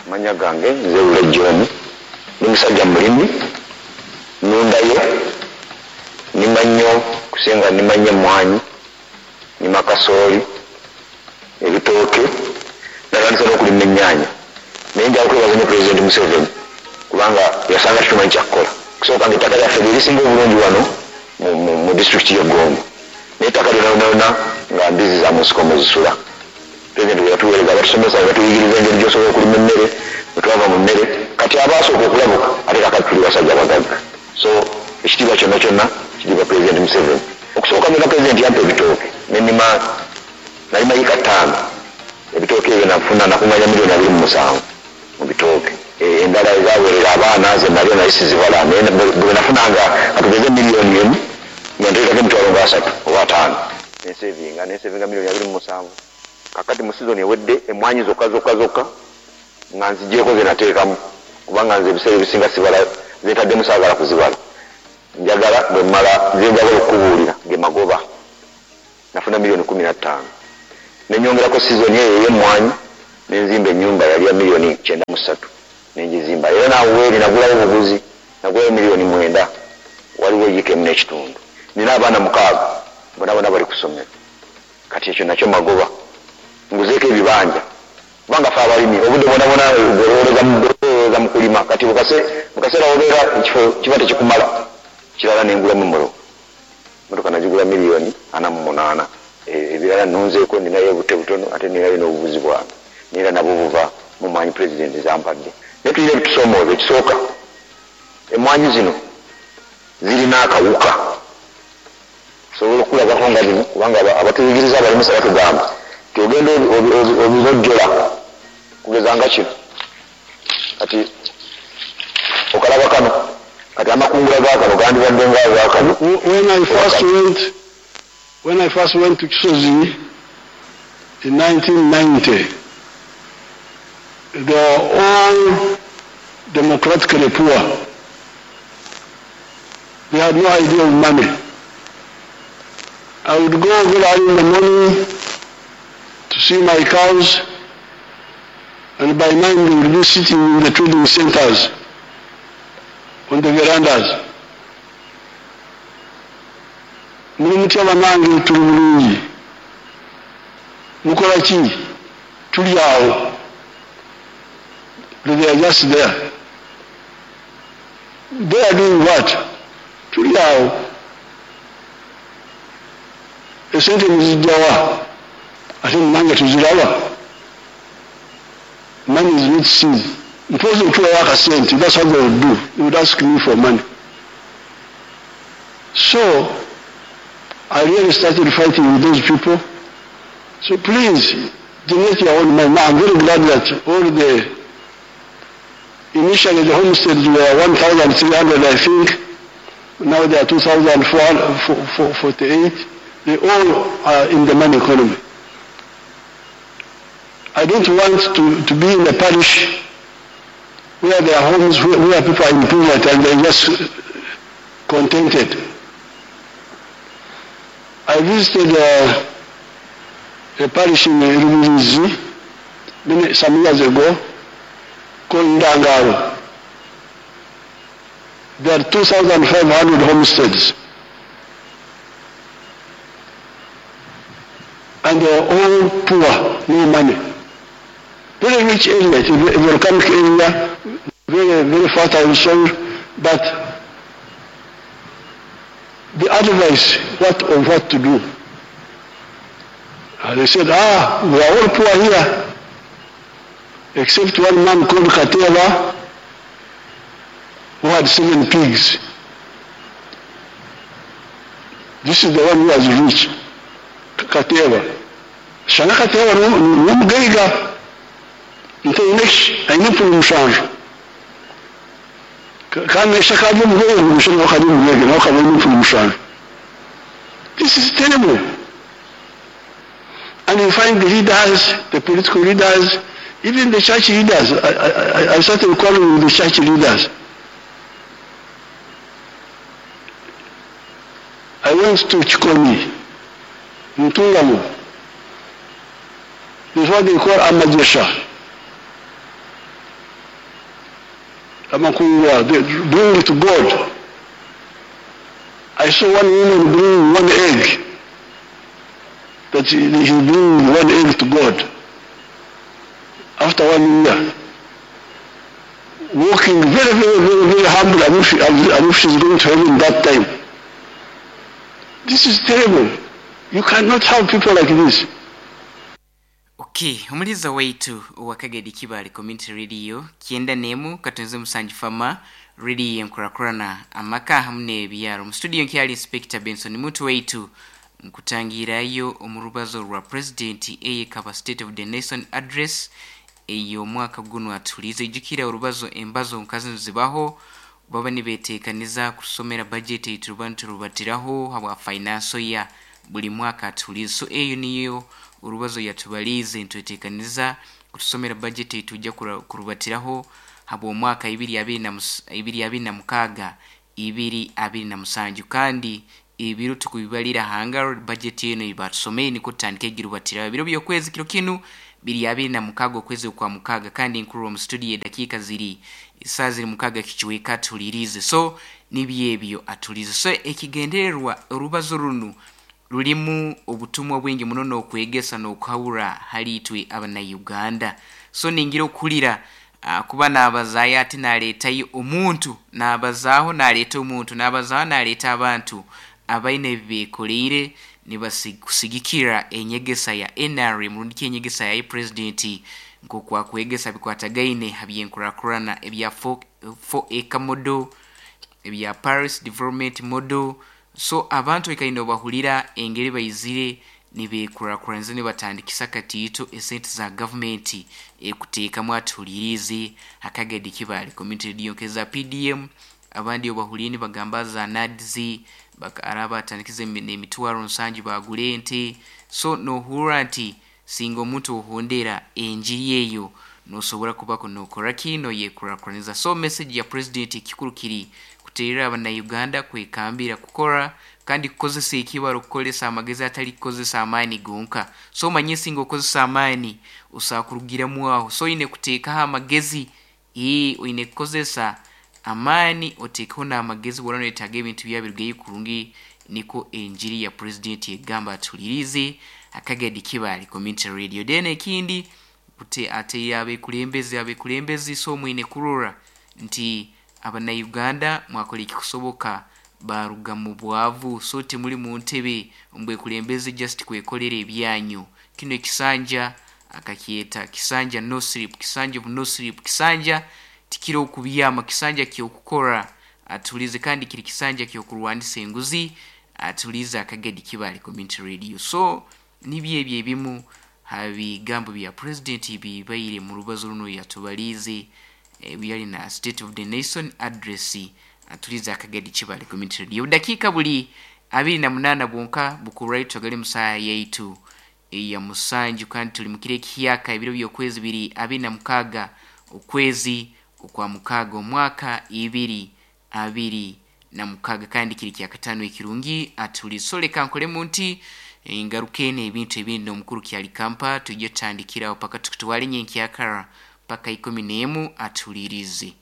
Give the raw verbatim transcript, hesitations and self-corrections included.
Amanya gange nze Lule John, ndi musajja mulimi, nundayo, nima nnyo, kusinga nima nnyo emwanyi, nima kasooli, ebitooke, natandise n'okulima ennyaanya. Naye njagala kwebaza nnyo Pulezidenti Museveni kubanga yasanga tetumanyi kyakukola. Okusooka nga ettaka lyaffe lye lisinga obulungi wano mu, mu, mu disitulikiti y'e Gomba, naye ettaka lyonna lyonna lyonna nga mbizi za mu nsiko mwe zisula. Pulezidenti bwe yatuweereza abatusomesa ne batuyigiriza engeri gy'osobola okulima emmere, bwe twava mu mmere kati abaasooka okulabuka ate kaakati tuli basajja bagagga. So ekitiibwa kyonna kyonna kiriba Pulezidenti Museveni. Okusooka byonna Pulezidenti yampa ebitooke ne nnima, nalima yiika ttaano. Ebitooke ebyo nafuna nakunganya miliyoni abiri mu musanvu mu bitooke. Endala ezaweerera abaana ze nalya naye sizibala, naye bwe nafunanga nga tugeze miliyoni emu nga nteekako emitwalo nga asatu oba ataano ne nsevinga, ne nsevinga miliyoni abiri mu musanvu. Kakati mu sizoni ewedde emmwanyi zokka zokka zokka nga nzigyeko ze nateekamu, kubanga nze ebiseera ebisinga sibala ze ntaddemu, saagala kuzibala. Njagala bwe mmala ze njagala okukubuulira ge magoba. Nafuna miliyoni kkumi na ttaano ne nnyongerako sizoni eyo ey'emmwanyi ne nzimba ennyumba yali ya miliyoni kyenda mu ssatu ne ngizimba, era naawe weeri nagulawo buguzi, nagulayo miliyoni mwenda, waliwo yiika emu n'ekitundu. Nina abaana mukaaga, bonna bonna bali ku ssomero. Kati ekyo nakyo magoba. Nguzeeko ebibanja kubanga ffe abalimi obudde bwona bwona olowooza mu kulima, kati mu kaseera wobeera ekifo kiba tekikumala. Kirala nengulamu emmotoka, emmotoka nagigula miliyoni ana mu munaana. Ebirala nnunzeeko, ninayo obute butono ate ninayo n'obubuzi bwange, naye era nabwo buva mu mmwanyi Pulezidenti z'ampadde. Naye tulina ebitusoomooza. Ekisooka, emmwanyi zino zirina akawuka. Tusobola okukulagako nga bino kubanga abatuyigiriza abalimisa batugamba nti ogenda obinojjola kugeza nga kino. Kati okalaba kano, kati amakungula ga kano gandibadde nga aga kano. When I first went, when I first went to Kisozi in nineteen ninety, they were all democratically poor. They had no idea of money. I would go very early in the morning to see my cows, and by nine they would be sitting in the trading centers, on the verandas. Muli mutya banange? Tuli bulungi. Mukola ki? Tuli awo. They are just there. They are doing what? Tuli awo. Esente muzijjawa? Ate nange tuziraba. Money is not seen. Mpozi otuwayo akasente. That's what they would do. They would ask me for money. So I really started fighting with those people. So please, generate your own money. Now I'm very glad that all the, initially the homesteads were one thousand three hundred, I think. Now they are two thousand four forty-eight. They all are in the money economy. I don't want to, to be in a parish where there are homes where, where people are in poverty and they're just contented. I visited, uh, a parish in Rubirizi many, some years ago called Ndangaro. There are two thousand five hundred homesteads. And they are all poor, no money. Very rich area, it's a volcanic area, very, very fertile soil, but the advice what of what to do. And they said, ah, we are all poor here, except one man called Kateva, who had seven pigs. This is the one who was rich, Kateva. Shana Kateva n'omugaiga, nte aine empunu mushanju. Kandi nesha kari omugaiga, ngu nawe kari omugaiga, nawe kaba aine empunu mushanju. This is terrible. And you find the leaders, the political leaders, even the church leaders. I, I, I started quarreling with the church leaders. I went to Chikoni, Ntungamo. This is what they call Amajesha. Amakungwa, they bring it to God. I saw one woman bring one egg. That he, he bring one egg to God. After one year. Walking very, very, very, very humble as if, as if she's going to heaven that time. This is terrible. You cannot have people like this. Okay, omuliza waitu owakagedi Kibale Community Radio kyenda nemu katonze musanju fama radio enkurakurana amaka hamu n'ebyaro. Mu studio nkyali Inspector Benson Muntu waitu nkutangirayo omurubazo rwa President eyekaba State of the Nation Address ey'omwaka guno atulize. Ijukira orubazo embazo nkazi zibaho baba nibeteekaniza kusomera budget eituruba niturubatiraho habwa finance ya buli mwaka atulize. So eyo niyo urubazo yatubalize nitweteekaniza kutusomera budget etujja kurubatiraho habwa omwaka ibiri abiri na ibiri abiri na mukaaga ibiri abiri na musanju, kandi ebiro tukubibalira hanga budget eno ibatusomeye niko tutandike egirubatiraho ebiro by'okwezi kiro kinu biri abiri na mukaaga okwezi kwa mukaaga, kandi nkuru mu studio edakiika ziri isaa ziri mukaaga kikiweka tulirize. So nibyo ebyo atulize. So ekigendererwa orubazo runu rulimu obutumwa bwingi muno n'okwegesa n'okuhabura hali itwe abannayuganda. So ningira okulira uh, kuba naabazaayo ate naleetayo omuntu, naabazaaho naleeta omuntu, naabazaaho naleeta abantu abaine ebibeekoleire nibasikusigikira enyegesa ya N R M rundi ki enyegesa ya president nk'okwakwegesa bikwatagaine habyenkurakurana ebya four acre model, ebya Paris Development Model. So abantu ekaine obahulira engeri baizire nibekurakuranza nibatandikisa katiito esente za government ekuteekamu atulirize akagedi Kibale Community Radio nkeza P D M. Abandi obahulire nibagamba za N A D Z araba atandikize emitwaro nsanju bagule ente. So nohurra nti singa omuntu ohondera enjiri eyo nosobora kubako nokora kino yekurakuraniza. So message ya president ekikuru kiri kuterera abannayuganda kwekambira kukora kandi kukozesa ekibaro kukolesa amagezi atali kukozesa amaani gonka. So manye singa okozesa amaani osakurugiramu aho. So ine kuteekaho amagezi, ee oine kukozesa amaani oteekeho n'amagezi bw'oraba noyetaaga ebintu byabirugayo kurungi. Niko enjiri ya president egamba atulirize akagedi Kibale Community Radio. Then ekindi kute ate abekulembezi abekulembezi so mwine kurora nti abannayuganda mwakola ekikusoboka baruga mu bwavu. So timuli mu ntebe mbwekulembezi just kwekolera ebyanyu. Kino ekisanja akakyeta kisanja no sleep, kisanja of no sleep, kisanja tikiro okubyama, kisanja kyokukora atulize, kandi kiri kisanja kyokurwanisa enguzi atulize akagedi Kibale Community Radio. So nibyo ebyo ebimu habigambo bya president bibaire mu rubazo runo yatubalize ebiyali na State of the Nation Address atulize akagedi Kibale Community Radio. Dakika buli abiri na munana bwonka bukuraito twagali musaha yaitu eya musanju, kandi tuli mukire kiyaka ebiro by'okwezi biri abiri na mukaga okwezi okwa mukaga omwaka ibiri abiri na mukaga, kandi kiri kya katano ekirungi atulisoleka nkolemu nti ngarukene ebintu ebindi omukuru kyali kampa tujye tandikiraho paka tukutwale nyenkyakara paka ikumi n'emu atulirize.